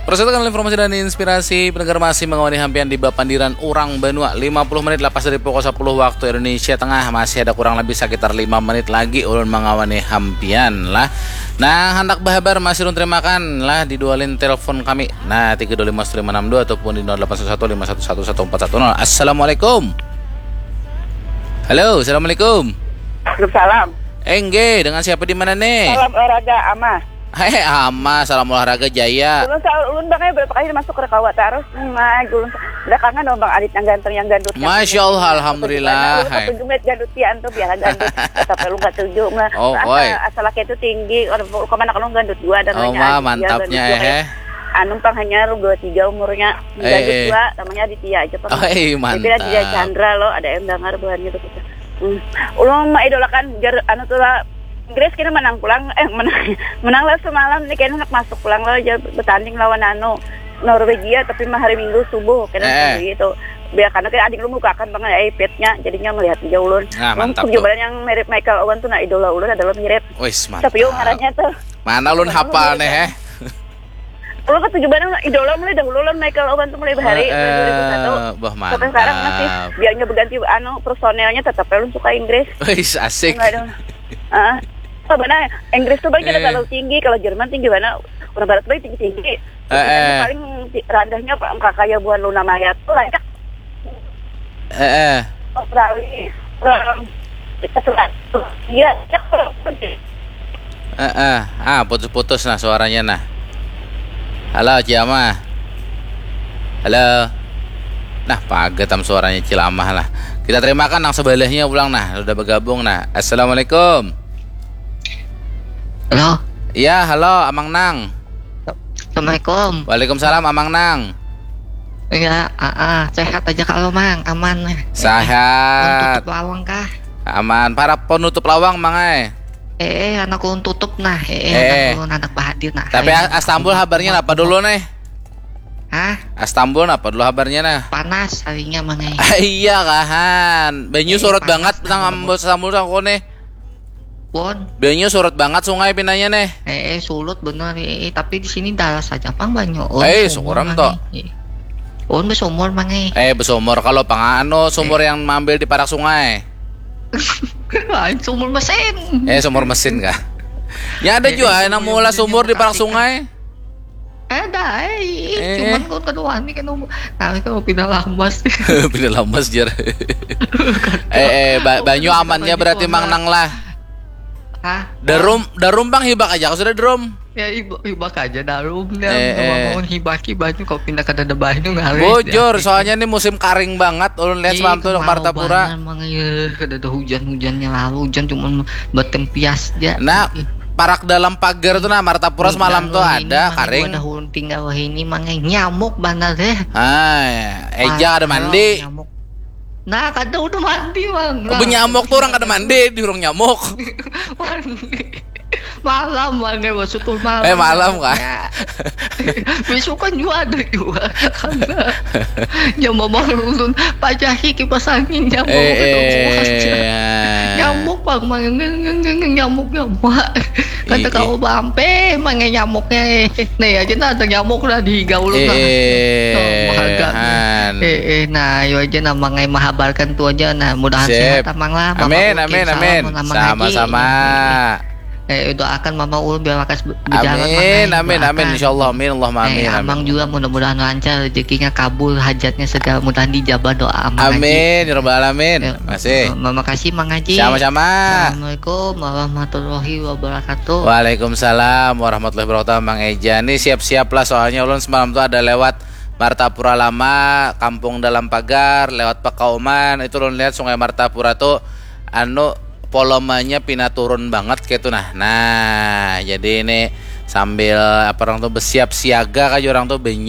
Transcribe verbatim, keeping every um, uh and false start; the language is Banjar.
Persatukan informasi dan inspirasi pendengar masih mengawani hampian di Bapandiran Urang Banua. Lima puluh menit lepas dari pukul sepuluh waktu Indonesia Tengah. Masih ada kurang lebih sekitar lima menit lagi ulun mengawani hampian lah. Nah, handak bahabar masih ulun terimakan lah di dua line telepon kami. Nah, tiga dua lima satu lima enam dua ataupun di nol delapan satu satu lima satu satu satu empat satu nol. Assalamualaikum. Halo, assalamualaikum. Waalaikumsalam. Engge, dengan siapa di mana nih? Salam olahraga Ama. Hei Ama, salam olahraga Jaya. Ulun sa ulun bang berapa kali masuk ke kawa terus. Nah, ulun belakangan dong bang Adit yang ganteng yang gandut. Masya Allah, alhamdulillah. Ulun katuju met gandut pian tuh biar gandut. Tapi ulun katuju mah. Oh, oi. Asal laki itu tinggi. Kalau kemana kalau gandut dua ada. Oh, ma, mantapnya eh. Anu pang hanya dua tiga umurnya. Gandut eh, eh. Dua namanya Aditya aja pang. Oh, eh, mantap. Tapi Aditya Chandra lo ada yang dengar buhannya tuh. Hmm. Ulun mengidolakan jar anu tuh lah Inggris kena menang pulang eh menang menang lah semalam nih kena nak masuk pulang lah jar bertanding lawan anu Norwegia tapi mah hari Minggu subuh kena eh. Gitu biar karena kayak adik lu bukakan banget iPad-nya jadinya melihat dia ulun nah, mantap tuh. Yang mirip Michael Owen tuh nah idola ulun adalah mirip Wis, mantap. Tapi ngarannya tuh mana ulun hafal nih eh Ulun ketujuh barang idola mulai dahulu lah Michael Owen tuh mulai bahari uh, uh, dua ribu satu. Bah, sampai sekarang masih biarnya berganti anu personelnya tetap ulun suka Inggris. Wis asik. Enggak dong. Ah, apa benar Inggris tuh banyak eh. Terlalu tinggi kalau Jerman tinggi mana orang barat baik tinggi tinggi. Eh, eh. Paling rendahnya apa kayak buah Luna Maya tuh banyak. Eh, eh. Australia. Iya, Heeh. Ah, putus-putus nah suaranya nah. Halo, Ciamah. Halo. Nah, pagetam suaranya Cilamah lah. Kita terimakan nang sebelahnya pulang nah, sudah bergabung nah. Assalamualaikum. Halo. Iya, halo, Amang Nang. Assalamualaikum. Waalaikumsalam, Amang Nang. Iya, ah, ah. Sehat aja kalau Mang, aman. Sehat. Untuk lawang kah? Aman. Para penutup lawang, Mang ai. Eh, eh, anak ulun tutup nah. Eh, eh, eh. Anak ulun anak bahadir nah. Tapi Astambul habarnya apa dulu nih? Hah? Astambul apa dulu habarnya nah? Panas harinya Mang ai. Iya kahan. Banyu eh, surut banget nang Astambul sangko nih. Pon. Banyu surut banget sungai pinanya nih. Eh, eh surut bener eh, eh. Tapi di sini daras saja pang banyu. Oh, eh, syukuran to. Eh. Oh, besumur mang eh. Eh, besumur kalau pang anu sumur eh. Yang maambil di parak sungai. Lain sumur mesin. Eh, sumur mesin kah? Ya ada juga nang mula sumur di parak sungai. Ada, eh, eh. Cuman kau kada wani kan, nah, kau pindah lamas. Pindah lamas jar. Eh, eh, ba banyu amannya berarti mang nang lah. Hah? Darum, darum bang hibak aja, sudah darum. Ya hibak, hibak aja darum ya. Eh, eh. Mau hibaki banyu kau pindah kada ada banyu ngaris. Bujur, soalnya ini musim karing banget. Ulun lihat semalam tuh Martapura. Mang ya, kada ada hujan hujannya lalu hujan cuma bertempias aja. Nah, parak dalam pagar tuh nah Martapura semalam tuh ada karing. Ada ulun tinggal ini mangai nyamuk banar deh. Ah, eja ada mandi. Nyamuk. Nah, kada udah mandi, Bang. Oh, nyamuk tuh orang kada mandi, di orang nyamuk. Mandi. Malam, Bang, ya, maksud tuh malam. Eh, malam kah? Ya. Besok kan juga ada juga. Karena ya mama ulun pajahi kipas anginnya mau eh, eh, nyamuk bang mangeng nyamuk nyamuk kata kau bampe mangeng nyamuknya eh nah aja nah ada nyamuk lah di gaul eh, nah eh, eh nah ayo aja nah mangai mahabarkan tu aja nah mudahan Sip. Sehat amang lah amin amin amin sama-sama Eh, doakan mama ulun biar lakas berjalan amin amin amin insyaallah amin Allah amin eh, amang juga mudah-mudahan lancar rezekinya kabul hajatnya segala mudahan dijabah doa amang amin ya rabbal alamin eh, masih terima kasih mang haji sama-sama assalamualaikum warahmatullahi wabarakatuh waalaikumsalam warahmatullahi wabarakatuh mang Eja nih siap-siap lah soalnya ulun semalam tuh ada lewat Martapura Lama, Kampung Dalam Pagar, lewat Pakauman, itu ulun lihat Sungai Martapura tuh anu volumenya pina turun banget gitu nah. Nah, jadi ini sambil apa orang tuh bersiap siaga kayak orang tuh